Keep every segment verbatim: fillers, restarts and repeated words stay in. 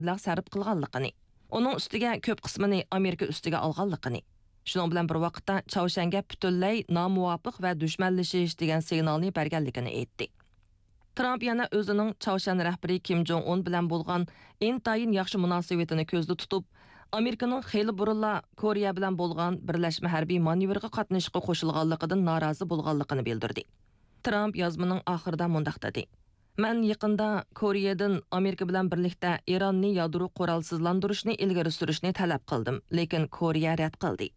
مەبلەغ سەرپ قىلغانلىقىنى، ئۇنىڭ ئۈستىگە كۆپ قىسمىنى ئامېرىكا ئۈستىگە ئالغانلىقىنى، شۇنىڭ بىلەن بىر ۋاقىتتا چاۋشيەنگە پۈتۈنلەي نامۇۋاپىق ۋە دۈشمەنلىشىش دېگەن سىگنالنى بەرگەنلىكىنى ئېيتتى. ترامپ يەنە ئۆزىنىڭ چاۋشيەن رەھبىرى كىم جوڭ ئۇن بىلەن بولغان ئىنتايىن ياخشى مۇناسىۋىتىنى كۆزدە تۇتۇپ، ئامېرىكىنىڭ خېلى بۇرۇنلا كورېيە بىلەن بولغان بىرلەشمە ھەربىي مانېۋىرغا قاتنىشىشقا قوشۇلغانلىقىدىن نارازى بولغانلىقىنى بىلدۈردى. ترامپ يازمىنىڭ ئاخىرىدا مۇنداق دېدى: مەن يېقىندا كورېيەدىن ئامېرىكا بىلەن بىرلىكتە ئىراننى يادرو قورالسىزلاندۇرۇشنى ئىلگىرى سۈرۈشنى تەلەپ قىلدىم، لېكىن كورېيە رەت قىلدى.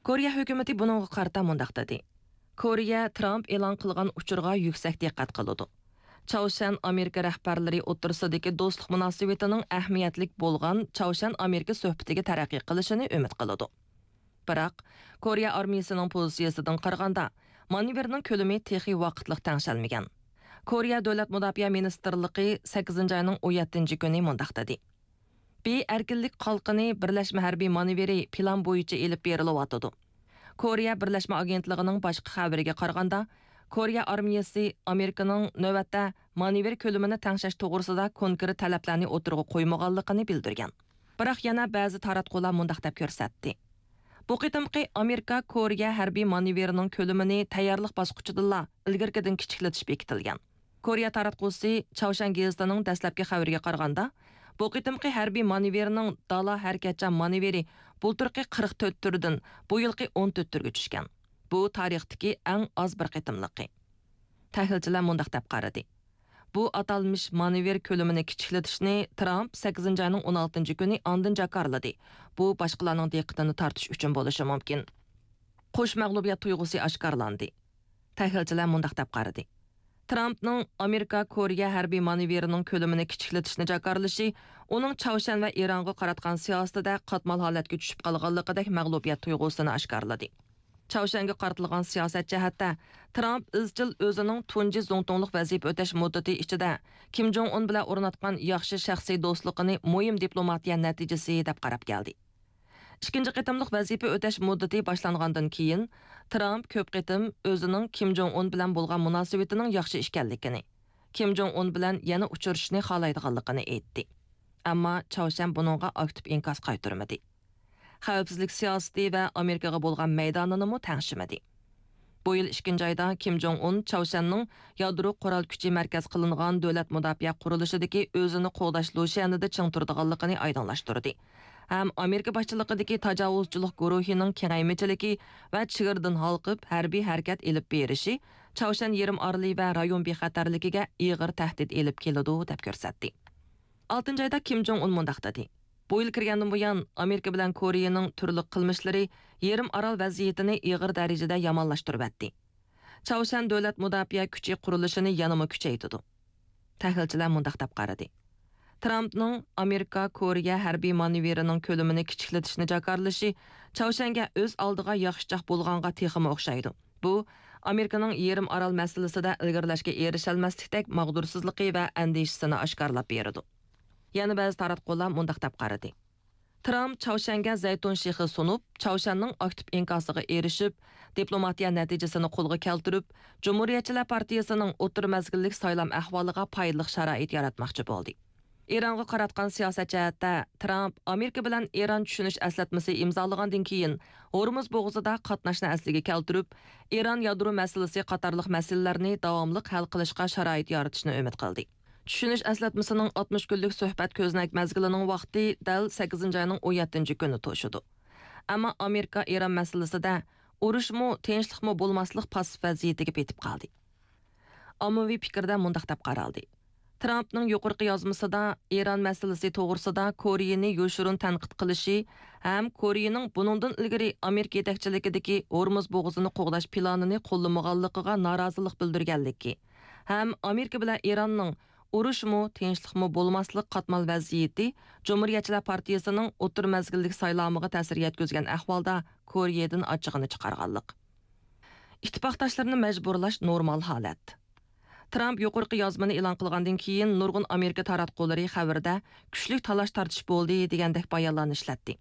كورېيە ھۆكۈمىتى بۇنىڭغا قارىتا مۇنداق دېدى: كورېيە ترامپ ئېلان قىلغان ئۇچۇرغا يۈكسەك دىققەت قىلىدۇ. چاۋشيەن ئامېرىكا رەھبەرلىرى ئوتتۇرىسىدىكى دوستلۇق مۇناسىۋىتىنىڭ ئەھمىيەتلىك بولغان چاۋشيەن ئامېرىكا سۆھبىتىگە تەرەققىي قىلىشىنى ئۈمىد قىلىدۇ. بىراق، كورېيە ئارمىيىسىنىڭ پوزىتسىيىسىدىن قارىغاندا، مانېۋىرنىڭ كۆلىمى تېخى ۋاقىتلىق تەڭشەلمىگەن. كورېيە دۆلەت مۇداپىئە مىنىستىرلىقى سەككىزىنچى ئاينىڭ ئون يەتتىنچى كۈنى مۇنداق دېدى: بى ئەركىنلىك قالقىنى بىرلەشمە ھەربىي مانېۋىرى پىلان بويىچە ئېلىپ بېرىلىۋاتىدۇ. كورېيە بىرلەشمە ئاگېنتلىقىنىڭ باشقا خەۋىرىگە قارىغاندا، كورېيە ئارمىيىسى ئامېرىكىنىڭ نۆۋەتتە مانېۋىر كۆلىمىنى تەڭشەش توغرىسىدا كونكرېت تەلەپلەرنى ئوتتۇرىغا قويمىغانلىقىنى بىلدۈرگەن. بىراق يەنە بەزى تاراتقۇلار مۇنداق دەپ كۆرسەتتى: بۇ قېتىمقى ئامېرىكا كورېيە ھەربىي مانېۋىرىنىڭ كۆلىمىنى تەييارلىق باسقۇچىدىلا ئىلگىرىكىدىن كىچىكلىتىش بېكىتىلگەن. كورېيە تاراتقۇسى چاۋشيەن گېزىتىنىڭ دەسلەپكى خەۋىرىگە قارىغاندا، بۇ قېتىمقى ھەربىي مانېۋىرنىڭ دالا ھەرىكەتچان مانېۋىرى بۇلتۇرقى قىرىق تۆت تۈردىن بۇ يىلقى ئون تۆت تۈرگە چۈشكەن. بۇ تارىختىكى ئەڭ ئاز بىر قېتىملىقى. تەھلىلچىلەر مۇنداق دەپ قارىدى: بۇ ئاتالمىش مانېۋىر كۆلىمىنى كىچىكلىتىشنى ترامپ سەككىزىنچى ئاينىڭ ئون ئالتىنچى كۈنى ئاندىن جاكارلىدى. بۇ باشقىلارنىڭ دىققىتىنى تارتىش ئۈچۈن بولۇشى مۇمكىن. قوش مەغلۇبىيەت تۇيغۇسى ئاشكارىلاندى. تەھلىلچىلەر مۇنداق دەپ قارىدى: ترامپنىڭ ئامېرىكا كورېيە ھەربىي مانېۋىرىنىڭ كۆلىمىنى كىچىكلىتىشنى جاكارلىشى ئۇنىڭ چاۋشيەن ۋە ئىرانغا قاراتقان سىياسىتىدە قاتمال ھالەتكە چۈشۈپ قالغانلىقىدەك مەغلۇبىيەت تۇيغۇسىنى ئاشكارىلىدى. چاۋشيەنگە قارىتىلغان سىياسەت جەھەتتە ترامپ ئىزچىل ئۆزىنىڭ تۇنجى زۇڭتۇڭلۇق ۋەزىپە ئۆتەش مۇددىتى ئىچىدە كىم جوڭ ئۇن بىلەن ئورناتقان ياخشى شەخسىي دوستلۇقىنى مۇھىم دىپلوماتىيە نەتىجىسى دەپ قاراپ كەلدى. ئىككىنچى قېتىملىق ۋەزىپە ئۆتەش مۇددىتى باشلانغاندىن كېيىن، ترامپ كۆپ قېتىم ئۆزىنىڭ كىم جوڭ ئۇن بىلەن بولغان مۇناسىۋىتىنىڭ ياخشى ئىكەنلىكىنى، كىم جوڭ ئۇن بىلەن يەنە ئۇچرىشىشنى خالايدىغانلىقىنى ئېيتتى. ئەمما چاۋشيەن بۇنىڭغا ئاكتىپ ئىنكاس قايتۇرمىدى. خەۋپسىزلىك سىياسىتى ۋە ئامېرىكىغا بولغان مەيدانىنىمۇ تەڭشىمىدى. بۇ يىل ئىككىنچى ئايدا كىم جوڭ ئۇن چاۋشيەننىڭ يادرو قورال كۈچى مەركەز قىلىنغان دۆلەت مۇداپىئە قۇرۇلۇشىدىكى ئۆزىنى قوغداش لۇشيەنىدە چىڭ تۇرىدىغانلىقىنى ئايدىڭلاشتۇردى ھەم ئامېرىكا باشچىلىقىدىكى تاجاۋۇزچىلىق گۇرۇھىنىڭ كېڭەيمىچىلىكى ۋە چېگرىدىن ھالقىپ ھەربىي ھەرىكەت ئېلىپ بېرىشى چاۋشيەن يېرىم ئارىلى ۋە رايون بىخەتەرلىكىگە ئېغىر تەھدىت ئېلىپ كېلىدۇ، دەپ كۆرسەتتى. ئالتىنچى ئايدا كىم جوڭ ئۇن مۇنداق دېدى: بۇ يىل كىرگەندىن بۇيان، ئامېرىكا بىلەن كورېيەنىڭ تۈرلۈك قىلمىشلىرى يېرىم ئارال ۋەزىيىتىنى ئېغىر دەرىجىدە يامانلاشتۇرۇۋەتتى. چاۋشيەن دۆلەت مۇداپىئە كۈچى قۇرۇلۇشىنى يەنىمۇ كۈچەيتىدۇ. تەھلىلچىلەر مۇنداق دەپ قارىدى: ترامپنىڭ ئامېرىكا كورېيە ھەربىي مانېۋىرىنىڭ كۆلىمىنى كىچىكلىتىشنى جاكارلىشى چاۋشيەنگە ئۆز ئالدىغا ياخشىچاق بولغانغا تېخىمۇ ئوخشايدۇ. بۇ، ئامېرىكىنىڭ يېرىم ئارال مەسىلىسىدە ئىلگىرىلەشكە ئېرىشەلمەسلىكتەك ماغدۇرسىزلىقى ۋە ئەندىشىسىنى ئاشكارىلاپ بېرىدۇ. يەنە بەزى تاراتقۇلار مۇنداق دەپ قارىدى: ترامپ چاۋشيەنگە زەيتۇن شېخى سۇنۇپ، چاۋشيەننىڭ ئاكتىپ ئىنكاسىغا ئېرىشىپ، دىپلوماتىيە نەتىجىسىنى قولغا كەلتۈرۈپ، جۇمھۇرىيەتچىلەر پارتىيىسىنىڭ ئوتتۇرا مەزگىللىك سايلام ئەھۋالىغا پايدىلىق شارائىت ياراتماقچى بولدى. ئىرانغا قاراتقان سىياسەت جەھەتتە، ترامپ ئامېرىكا بىلەن ئىران چۈشىنىش ئەسلەتمىسى ئىمزالىغاندىن كېيىن، ھورمۇز بوغۇزىدا قاتناشنى ئەسلىگە كەلتۈرۈپ، ئىران يادرو مەسىلىسى قاتارلىق مەسىلىلەرنى داۋاملىق ھەل قىلىشقا شارائىت يارىتىشنى ئۈمىد قىلدى. چۈشىنىش ئەسلەتمىسىنىڭ ئاتمىش كۈنلۈك سۆھبەت كۆزنەك مەزگىلىنىڭ ۋاقتى دەل سەككىزىنچى ئاينىڭ ئون يەتتىنچى كۈنى توشىدۇ. ئەمما ئامېرىكا ئىران مەسىلىسىدە ئۇرۇشمۇ، تىنچلىقمۇ بولماسلىق پاسسىپ ۋەزىيىتىگە پېتىپ قالدى. ئاممىۋى پىكىردە مۇنداق دەپ قارالدى: ترامپنىڭ يۇقىرىقى يازمىسىدا ئىران مەسىلىسى توغرىسىدا كورېيىنى يوشۇرۇن تەنقىد قىلىشى ھەم كورېيىنىڭ بۇنىڭدىن ئىلگىرى ئامېرىكا يېتەكچىلىكىدىكى ھورمۇز بوغۇزىنى قوغداش پىلانىنى قوللىمىغانلىقىغا نارازىلىق بىلدۈرگەنلىكى ھەم ئامېرىكا بىلەن ئىراننىڭ ئۇرۇشمۇ، تىنچلىقمۇ بولماسلىق قاتمال ۋەزىيىتى جۇمھۇرىيەتچىلەر پارتىيىسىنىڭ ئوتتۇرا مەزگىللىك سايلامىغا تەسىر يەتكۈزگەن ئەھۋالدا كورېيەدىن ئاچچىقىنى چىقارغانلىق. ئىتتىپاقداشلىرىنى مەجبۇرلاش نورمال ھالەت. ترامپ يۇقىرىقى يازمىنى ئېلان قىلغاندىن كېيىن، نۇرغۇن ئامېرىكا تاراتقۇلىرى خەۋىرىدە كۈچلۈك تالاش-تارتىش بولدى دېگەندەك بايانلارنى ئىشلەتتى.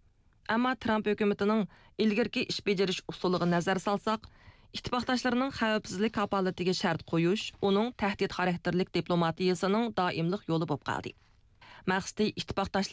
ئەمما ترامپ ھۆكۈمىتىنىڭ ئىلگىرىكى ئىش بېجىرىش ئۇسۇلىغا نەزەر سالساق، ئىتتىپاقداشلىرىنىڭ خەۋپسىزلىك كاپالىتىگە شەرت قويۇش ئۇنىڭ تەھدىت خاراكتېرلىك دىپلوماتىيىسىنىڭ دائىملىق يولى بولۇپ قالدى. مەقسىتى ئىتتىپاقداشلىرىنى